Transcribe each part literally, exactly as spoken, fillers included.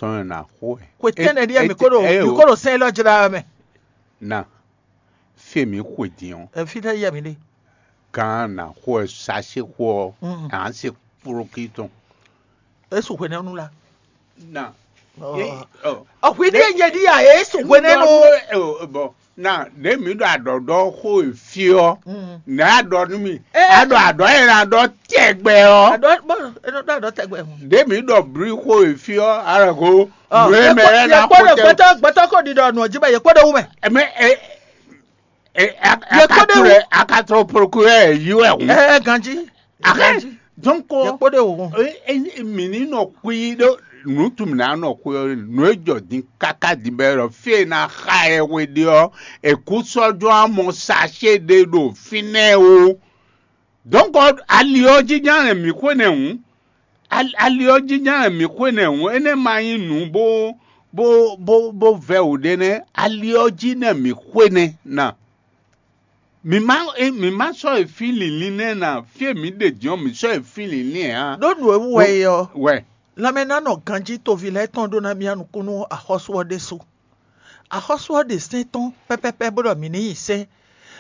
tɔn e nǎ xo wɛ. Xwe tɛ́nnɛ ɖíe mi ko ɖo mi ko ɖo sɛn élɔ́ jlá wɛ mɛ. Na fí e mǐ xwe din ɔ́, Ɛ, fítɛ́ yɛ mi ɖe? Gán nǎ xo wɛ sachet xo ɔ́, Mm. Nǎ se kplɔ́kí tɔn. É su hwenɛ́nu la. Na Ɔ. É- ɔ. Ɔ, hwi ɖíe nyɛ ɖíe a, é su hwenɛ́nu. Ɔ, bɔn na ɖě mǐ ɖo aɖɔ̌ɖɔ́ xó e fí ɔ́, Mm. nɛ̌ a ɖɔ nú mì? Ɛ. A ɖɔ aɖɔ̌ e ná ɖɔ tɛgbɛ ɔ́. Aɖɔ bɔn é nɔ ɖɔ aɖɔ tɛgbɛ hɔn. Ɖě mǐ ɖɔ blí xó e fí ɔ́, a ɖɔ ko Ɔ, nǔ e mɛ lɛ́ɛ ná yɛ kpɔ́ xo ɖo tɛ. Gbɛtɔ́ gbɛtɔ́ ko ɖiɖɔ nǔ ɔ́ jí bɛ yɛ kpɔ́ ɖo wú mɛ. Mɛ e e a- Yɛ kpɔ́ ɖo wú. Akatulɛ akatulɛ prokuyɛ yi wɛ hǔn. Ɛ ganji. Ahɛn, Ganji. Donc Yɛ kpɔ́ ɖo wú. E- e- mǐ ní nɔ xwí ɖó nǔ tún mǐ ná nɔ xwí ɔ́, nǔ e jɔ din káká din bɛ ɖɔ fí e ná xa ɛ hwe ɖe ɔ́, èkú sɔ́ jɔ́n amɔ sachet ɖé ɖo fínɛ́ o. Donc ali ɔ́ jí ján lɛ mǐ xwe nɛ́ hǔn. Ali ɔ́ jí ján lɛ mǐ xwe nɛ́ hǔn, énɛ́ ma nyí nǔ bó bó bó bó vɛ́ wǔ ɖé nɛ́. Ali ɔ́ jí nɛ́ mǐ xwe nɛ́ na. Mǐ má é- mǐ má sɔ́ e fí lǐnlín nɛ́ na fí e mǐ ɖe din ɔ́, mǐ sɔ́ e fí lǐnlín ɛ ǎ. Ɖó nǔ e wú wɛ é ɔ́, Wɛ. Lanmɛnánɔ ganjí toví lɛ́ɛ tɔn ɖó ná mía nukún nú axɔ́sú ɔ́ ɖésú. Axɔ́sú ɔ́ ɖe sɛ́n tɔn pɛ́pɛ́pɛ́ bó ɖɔ mǐ ní nyi sɛ́n.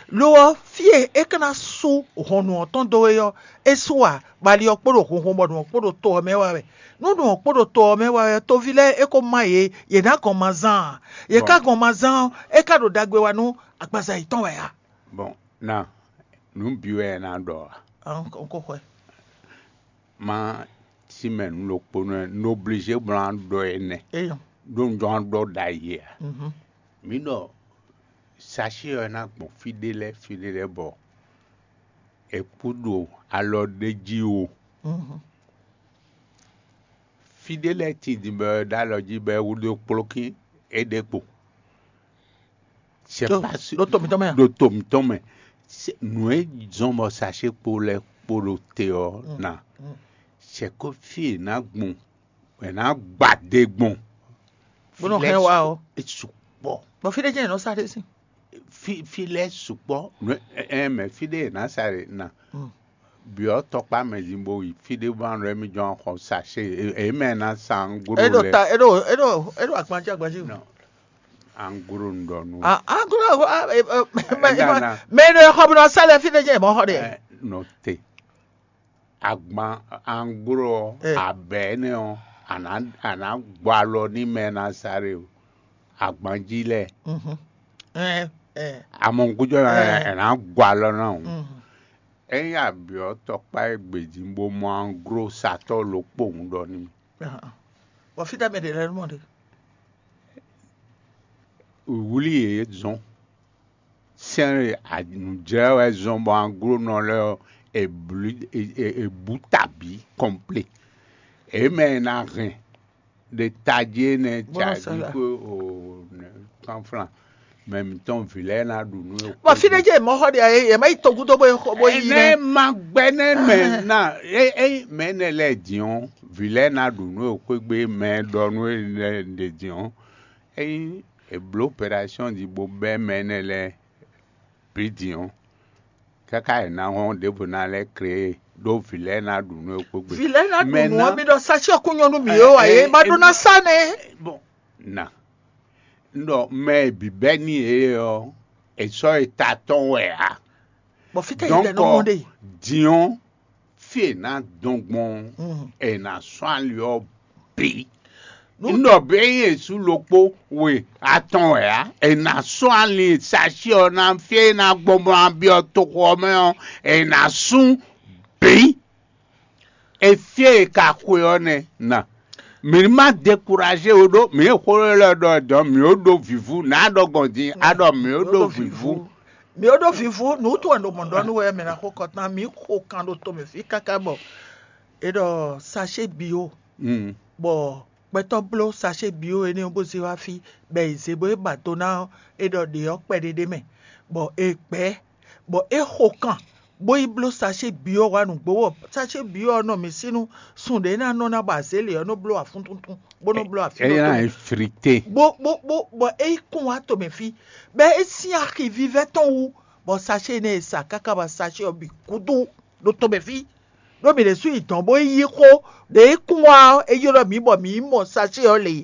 Lo ɔ́, fí e é ka ná sú hɔn nǔ ɔ́ tɔn dó é ɔ́, é sú ǎ, bɔ ali ɔ́ kpo ɖo honhon bɔ nǔ ɔ́ kpo ɖo to ɔ́ mɛ wá wɛ. Nú nǔ ɔ́ kpo ɖo to ɔ́ mɛ wá wɛ ɔ́, toví lɛ́ɛ é ko má yě, yě ná gɔn ma zán ǎ. Yě Bɔn. Ka gɔn ma zán ɔ́, é ka ɖo ɖagbe wa nú agbaza yětɔn wɛ ǎ. Bɔn na nǔ bǐ wɛ ná ɖɔ a? Ɔn ko xwɛ. Ma sí mɛ nǔ ɖokpónɔ ɛ, un oblízé bó ná ɖɔ énɛ́. Eyɔn. Ɖó un jɔ ná ɖɔ ɖ'ayǐ ǎ. Mhm. Mǐ ɖɔ sachet ɔ́ ná gbɔn fí ɖé lɛ́ɛ fí ɖé lɛ́ɛ bɔ è kú ɖo alɔ ɖé jí o. Mhm. Fí ɖé lɛ́ɛ tin din bɔ è ɖó alɔ jí bɔ è wú ɖó kplɔ́kín é ɖe kpo. C'est Ɖo- pas sûr. Ɖo to mǐtɔn mɛ a? Ɖo to mǐtɔn mɛ. C'est- nǔ e zɔn bɔ sachet kpo lɛ́ɛ kpo ɖo te ɔ́ Mm, na. Mm. C'est que fí è nǎ gbɔn è nǎ gba ɖe gbɔn. Bó nɔ Fí lɛ́ɛ hɛn wá su- ɔ́. É sukpɔ́. Bɔ fí ɖé jẹ́ ìnáwó sáré sí. Fí fí lɛ́ɛ sukpɔ́. Nǔ ɛ ɛ mɛ fí ɖé è nǎ sa ɖe na. Mm. Byɔ̌ tɔkpá mɛ din bó yi fí ɖé bó ná nɔ émí jɔ́n xɔ sachet. È mɛ ná sa anguro Eɖo lɛ. Ta eɖo eɖo eɖo agbanjí agbanjí. Non. Anguro un ɖɔ nú. Ah, anguro ah, eh, eh, mɛ Ɛna, ɛna. Mɛ ɖo xɔ bó nɔ sá lɛ fí ɖé jẹ́ ìmọ̀ xɔ ɖe. Ɛ, nɔ te. Agban anguro ɔ́, Eh. Abɛ énɛ́ ɔ́, a nǎ a nǎ gbɔ alɔ ní mɛ ná sa ɖe o. Agbanjí lɛ. Mhm. Eh, eh. Amɔgúnjɔ ná Eh. Ɛ nǎ gbɔ alɔ ná o. Mhm. Ényí abyɔ̌ tɔkpá e gbějí bó mɔ anglo satɔ́ ɖokpó hǔn ɖɔ n'i. Ahan. Bɔ fítɛ́ mɛ ɖě lɛ́ɛ nɔ ɖe? Wlí yě zɔn. Sɛ́n e nǔjlɛ́ wɛ zɔn bɔ anglónɔ lɛ́ɛ ɔ́, è blǐ è è è bǔ ta bǐ kɔnplé. È mɛ e ná hɛn ɖe tají énɛ́ Bó ná cají sala. Xó o nɛ kánflán. Mɛ mǐtɔn vǐ lɛ́ɛ ná ɖu nú é. Bɔ fí ɖé jẹ́ mɔ̌ xɔ ɖe ɛ yɛ má yi togúdó bó bó yí Ɛnɛ nɛ. Ma gbɛ nɛ mɛ na é é mɛ nɛ lɛ diɔn vǐ lɛ na ɖu nú é xwégbe mɛ ɖɔ nú é lɛ ɖe diɔn. Ényí è blǒ opération ɖi bó bɛ́ mɛ nɛ lɛ bǐ diɔn. Káká è ná hɔn ɖěvo ná lɛ́ kré ɖó vǐ lɛ ná ɖu nú é xwégbe. Vǐ lɛ ná ɖu nǔ ɔ́ mi ɖɔ sachyɔ́ kún nyɔ́ nú mǐ ó ǎ é má ɖó ná sá nɛ. Bon, na un ɖɔ mɛ e bǐ bɛ́ n'i é ɔ́, è sɔ́ e ta tɔn wɛ ǎ. Bɔ fítɛ́ yě tɛ nɔ mɔ ɖe. Din ɔ́, fí è nǎ dɔn gbɔn ɔ́, è nǎ sɔ́ ali ɔ́ bǐ. Un ɖɔ bǐ ényí è sú ɖokpó we atɔn wɛ ǎ, è nǎ sɔ́ ali sachyɔ́ ɔ́ ná fí e é ná gbɔn bó ná byɔ́ toxo ɔ́ mɛ ɔ́, è nǎ sú bǐ. Efyé e ka xwe ɔ́ nɛ́ na. Mǐ ní má dekuraze ó ɖó mǐ e xó élɔ́ ɖɔ dɔ̌n mǐ ó ɖó vǐvú, nǎ ɖɔ gbɔn din a ɖɔ mǐ ó ɖó vǐvú. Mǐ ó ɖó vǐvú, nǔ tɔn ɖo mɔ̌ ɖɔ nú wɛ mɛ ná xo kɔtán, mǐ xo kan ɖo tomɛ fí káká bɔ è ɖɔ sachet bio, Mm. Bɔ gbɛtɔ́ bló sachet bio énɛ́ ɔ́ bó zé wá fí, bɔ è zě bó é ba do ná é ɖɔ ɖě ɔ́ kpɛɖé ɖé mɛ, bɔ è gbɛ̌, bɔ é xo kan bó yi bló sachet bio wá nǔgbó wɔ sachet bio ɔ́ nɔ mǐ sí nú sun ɖě ná nɔ ná bɔ azě lě ɔ́ nɔ bló afúntúntún bó nɔ bló afí Eye ɖokpó ná mɛ. Eflite. Bó bó bó bɔ é yi kún wá tomɛ fí, bɔ é sín axi vívɛ́ tɔn wú, bɔ sachet énɛ́ e sa káká bɔ sachet ɔ́ bǐ kúdú ɖo tomɛ fí. Ɖó mǐ ɖésú yi dɔ̌n bó yi yí xó ɖě é kún wá ɔ́, é ylɔ́ mǐ bɔ mǐ yi mɔ sachet ɔ́ lě.